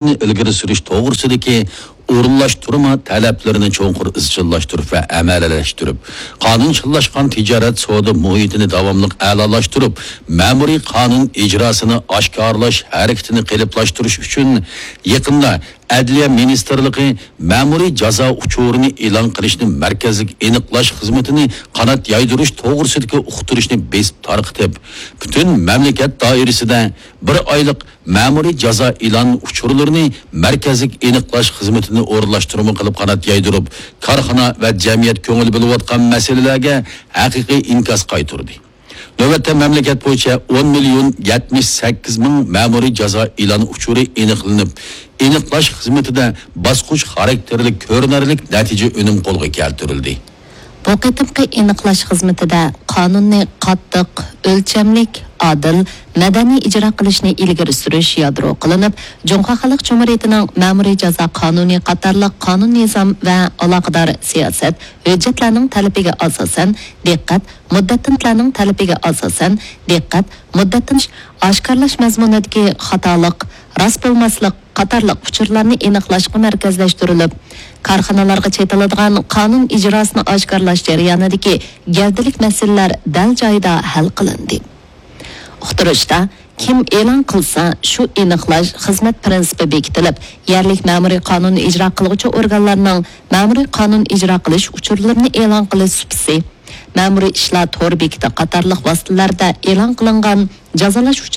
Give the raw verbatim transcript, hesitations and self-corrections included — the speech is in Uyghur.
ئىلگىرى سۈرۈش توغرىسىدىكى ئورۇنلاشتۇرما تەلەپلىرىنى چوڭقۇر ئىزچىللاشتۇرۇپ ۋە ئەمەلىيلەشتۈرۈپ، قانۇنچىللاشقان تىجارەت سودا مۇھىتىنى داۋاملىق ئەلالاشتۇرۇپ، مەمۇرىي قانۇن ئىجراسىنى ئاشكارىلاش ھەرىكىتىنى قېلىپلاشتۇرۇش ئۈچۈن يېقىندا ئەدلىيە مىنىستىرلىقى مەمۇرىي جازا ئۇچۇرىنى ئېلان قىلىشنى مەركەزلىك ئېنىقلاش خىزمىتىنى قانات يايدۇرۇش توغرىسىدىكى ئۇقتۇرۇشنى بېسىپ تارقىتىپ، پۈتۈن مەملىكەت دائىرىسىدە بىر ئايلىق مەمۇرىي جازا ئېلان ئۇچۇرلىرىنى مەركەزلىك ئېنىقلاش خىزمىتىنى ئورۇنلاشتۇرما قىلىپ قانات يايدۇرۇپ، كارخانا ۋە جەمئىيەت كۆڭۈل بۆلۈۋاتقان مەسىلىلەرگە ھەقىقىي ئىنكاس قايتۇردى. نۆۋەتتە مەملىكەت بويىچە ئون مىليون يەتمىش سەككىز مىڭ مەمۇرىي جازا ئېلان ئۇچۇرى ئېنىقلىنىپ، ئېنىقلاش خىزمىتىدە باسقۇچ خاراكتېرلىك كۆرۈنەرلىك نەتىجە ئۈنۈم قولغا كەلتۈرۈلدى. بۇ قېتىمقى ئېنىقلاش خىزمىتىدە قانۇننى قاتتىق، ئۆلچەملىك، ئادىل، مەدەنىي ئىجرا قىلىشنى ئىلگىرى سۈرۈش يادرو قىلىنىپ، جۇڭخۇا خەلق جۇمھۇرىيىتىنىڭ مەمۇرىي جازا قانۇنى قاتارلىق قانۇن نىزام ۋە ئالاقىدار سىياسەت، ھۆججەتلەرنىڭ تەلىپىگە ئاساسەن، دىققەت، مۇددەتتىنلارنىڭ تەلىپىگە ئاساسەن، دىققەت، مۇددەتتىن ئاشكارىلاش مەزمۇنىدىكى خاتالىق، راست بولماسلىق قاتارلىق ئۇچۇرلارنى ئېنىقلاشقا مەركەزلەشتۈرۈلۈپ، كارخانىلارغا چېتىلىدىغان قانۇن ئىجراسىنى ئاشكارىلاش جەريانىدىكى گەۋدىلىك مەسىلىلەر دەل جايىدا ھەل قىلىندى. ئۇقتۇرۇشتا، كىم ئېلان قىلسا، شۇ ئېنىقلاش خىزمەت پىرىنسىپى بېكىتىلىپ، يەرلىك مەمۇرىي قانۇن ئىجرا قىلغۇچى ئورگانلارنىڭ مەمۇرىي قانۇن ئىجرا قىلىش ئۇچۇرلىرىنى ئېلان قىلىش سۇپىسى، مەمۇرىي ئىشلار تور بېكىتى قاتارلىق ۋاسىتىلەردە ئېلان قىلىنغان جازالاش